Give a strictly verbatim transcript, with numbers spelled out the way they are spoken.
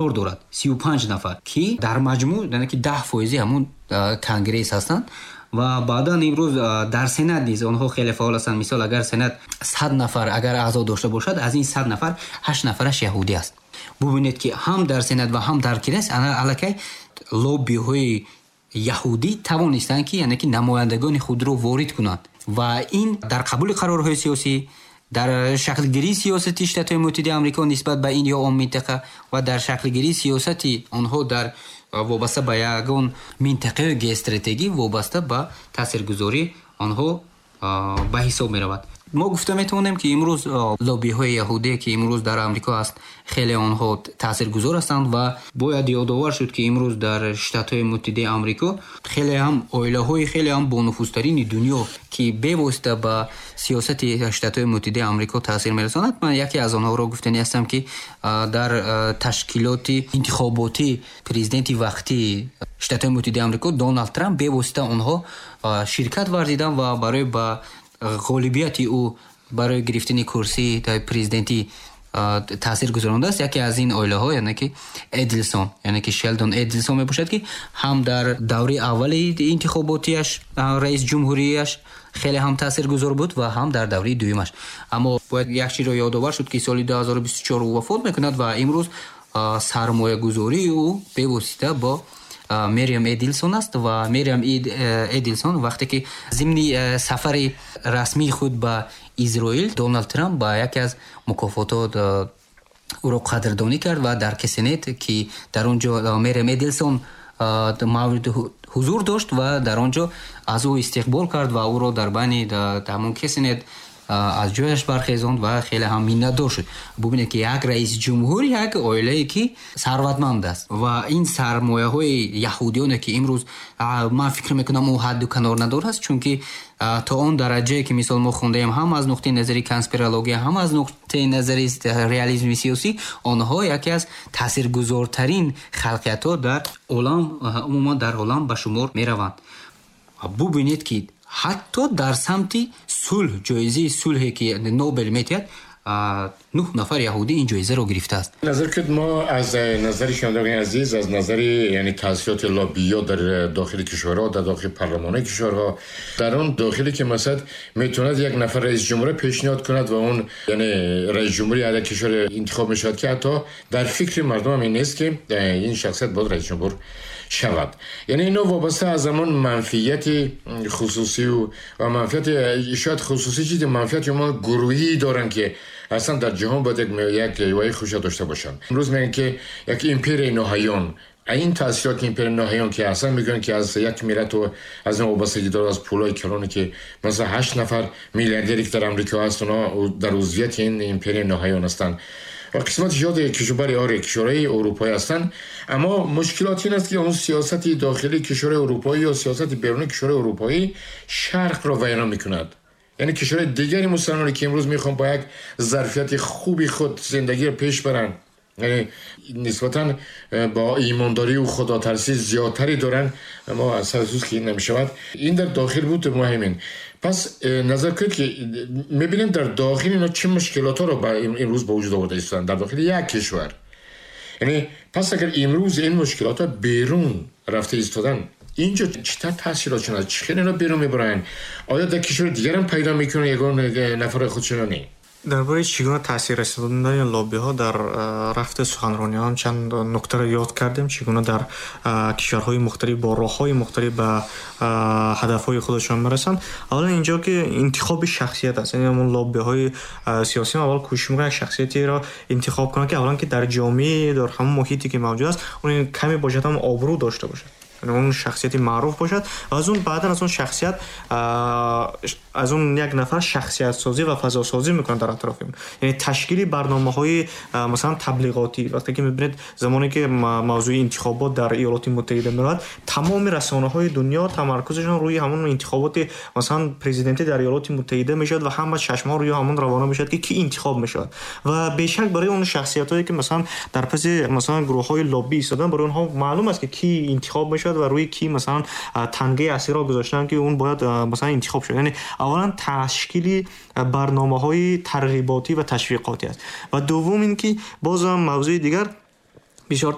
Дорад сию панҷ нафар, ки дар маҷмӯъ, яъне ки даҳ фоизи ҳамун Конгресс ҳастанд. Ва баъдан имрӯз дар Сенат низ онҳо хеле фаъол ҳастанд. Мисол, агар Сенат сад нафар агар аъзо дошта бошад, аз ин сад нафар ҳашт нафараш яҳудӣ аст. Бубинед, ки ҳам дар Сенат ва ҳам дар Конгресс аллакай лоббиҳои яҳудӣ тавонистанд, ки яъне ки намояндагони худро ворид кунанд ва ин дар қабули қарорҳои сиёсӣ, дар шаклгирии сиёсати Штатҳои Муттаҳидаи Амрико нисбат ба ин ё он минтақа ва дар шаклгирии сиёсати онҳо дар вобаста ба ягон минтақаи геостратегӣ, вобаста ба таъсиргузорӣ онҳо ба ҳисоб меравад. Мо гуфта метавонем, ки имрӯз лоббиҳои яҳудие, ки имрӯз дар Амрико аст, хеле онҳо таъсиргузор ҳастанд. Ва бояд ёдовар шуд, ки имрӯз дар Штатҳои Муттаҳидаи Амрико хеле ҳам оилаҳои хеле ҳам бонуфузтарини дунё, ки бевосита ба сиёсати Штатҳои Муттаҳидаи Амрико таъсир мерасонад, ман яке аз онҳоро гуфтанӣ ҳастам, ки дар ташкилоти интихоботӣ президенти вақтии Штатҳои Муттаҳидаи Амрико Доналд Трамп бевосита онҳо ширкат варзиданд ва барои ба ғолибияти ӯ барои гирифтани курсии президентӣ таъсир гузарондааст. Яке аз ин оилаҳо, яъне ки Эдлсон, яъне ки Шелдон Эдлсон мебошад, ки ҳам дар даври аввали интихоботиаш, раис ҷумҳурияш хеле ҳам таъсиргузор буд ва ҳам дар давраи дуюмаш. Аммо бояд як чизро ёдовар шуд, ки соли ду ҳазору бисту чор ӯ вафот мекунад ва имрӯз сармоягузории ӯ бевосита бо Мериам Эдилсон аст. Ва Мериам Эдилсон вақте ки зимни сафари расмии худ ба Изроил Доналд Трамп ба яке аз мукофотот ӯро қадрдонӣ кард ва дар Кнессет, ки дар он ҷо Мериам Эдилсон мавриди ҳузур дошт ва дар он ҷо аз ӯ истиқбол кард ва ӯро дар байни ҳамон Кнессет аз ҷояш бархезонд ва хеле ҳам миннатдор шуд. Бубинед, ки як раиси ҷумҳур, як оилае ки сарватманд аст ва ин сармояҳои яҳудиёне, ки имрӯз ман фикр мекунам, ӯ ҳадду канор надорад, чунки то он дараҷае ки мисол мо хондаем, ҳам аз нуқтаи назари конспирология, ҳам аз нуқтаи назари реализми сиёсӣ, онҳо яке аз таъсиргузортарин халқиятҳо дар олам, умуман дар олам ба шумор мераванд. Бубинед, ки ҳатто дар самти сулҳ, ҷоизаи сулҳе, ки Нобел медиҳад, нӯҳ нафар яҳудӣ ин ҷоизаро гирифтааст. Назар кунед, мо аз назари шунавандагони азиз, аз назари яъне таъсироти лоббиё дар дохили кишварҳо, дар дохили парлумони кишварҳо, дар он дохиле ки масалан метавонад як нафар раис ҷумҳур пешниҳод кунад ва он яъне раис ҷумҳури ҳар як кишвар интихоб мешавад, ки ҳатто дар фикри мардум ҳам ин нест, ки ин шахсият бояд раис ҷумҳур шавад. Яъне ино вобаста аз ҳамон манфиати хусусию ва манфиати шояд хусусӣ, чизи манфиати мо гурӯҳӣ доранд, ки аслан дар ҷаҳон бояд як ваи хушро дошта бошанд. Имрӯз мегӯянд, ки як империяи ноҳаён, ин таъсироти империяи ноҳаён, ки аслан мегӯянд, ки аз як миллату аз ин вобастагӣ дорад, аз пулҳои калоне, ки масалан ҳашт нафар миллиардере, ки дар Амрико ҳаст, онҳо дар узвияти ин империяи ноҳаён ҳастанд ва қисмати зиёди кишвари, оре, кишварҳои урупоӣ ҳастанд. Аммо мушкилот ин аст, ки он сиёсати дохилии кишварҳои урупоӣ ё сиёсати берунии кишварҳои урупоӣ шарқро вайрон мекунад, яъне кишварҳои дигари мусалмоне, ки имрӯз мехоҳанд бо як зарфияти хуби худ зиндагиро пеш баранд, яъне нисбатан э, бо имондорию худотарсӣ зиёдтаре доранд, аммо аз афсӯс, ки ин намешавад. Ин дар дохил буд муҳимин. Пас э, назар кунед, ки мебинем, дар дохил ино чӣ мушкилотҳоро имрӯз ба вуҷуд оварда истоданд дар дохили як кишвар. Яъне пас агар имрӯз ин мушкилотҳо берун рафта истоданд, инҷо чӣ тавр таъсиротшон аст? Чӣ хел ино берун мебаранд? Оё дар кишвари дигарам пайдо мекунанд ягон нафарҳои худшона не? Дар бораи чӣ гуна таъсир расондани лоббиҳо дар рафти суханрониҳо чанд нуктаро ёд кардем, чӣ гуна дар кишварҳои мухталиф бо роҳҳои мухталиф ба ҳадафҳои худашон мерасанд. Аввалан, инҷо ки интихоби шахсият аст, яъне ҳамон лоббиҳои сиёсӣ аввал кӯшиш мекунанд як шахсиятеро интихоб кунанд, ки аввалан ки дар ҷомеа, дар ҳамон муҳите, ки мавҷуд аст, он каме бошад ҳам обрӯ дошта бошад, он шахсияти маъруф бошад ва аз он баъдан аз он шахсият, аз он як нафар шахсиятсозӣ ва фазосозӣ мекунад дар атрофи он, яъне ташкили барномаҳои масалан таблиғотӣ. Вақте ки мебинед, замоне ки мавзӯи интихобот дар Иёлоти Муттаҳида меравад, тамоми расонаҳои дунё тамаркузашон рӯи ҳамон интихоботи масалан президентӣ дар Иёлоти Муттаҳида мешавад ва ҳама чашмҳо рӯи ҳамон равона мешавад, ки кӣ интихоб мешавад. Ва бешак барои он шахсиятҳое, ки масалан дар паси масалан гурӯҳҳои лоббӣ истодан, барои онҳо маълум аст, ки кӣ интихоб мешавад ва рӯи кӣ масалан тангаи асиро гузоштанд, ки он бояд масалан интихоб шавад. Яъне аввалан ташкили барномаҳои тарғиботӣ ва ташвиқотӣ аст. Ва дуввум ин ки бозам мавзӯи дигар Бисёр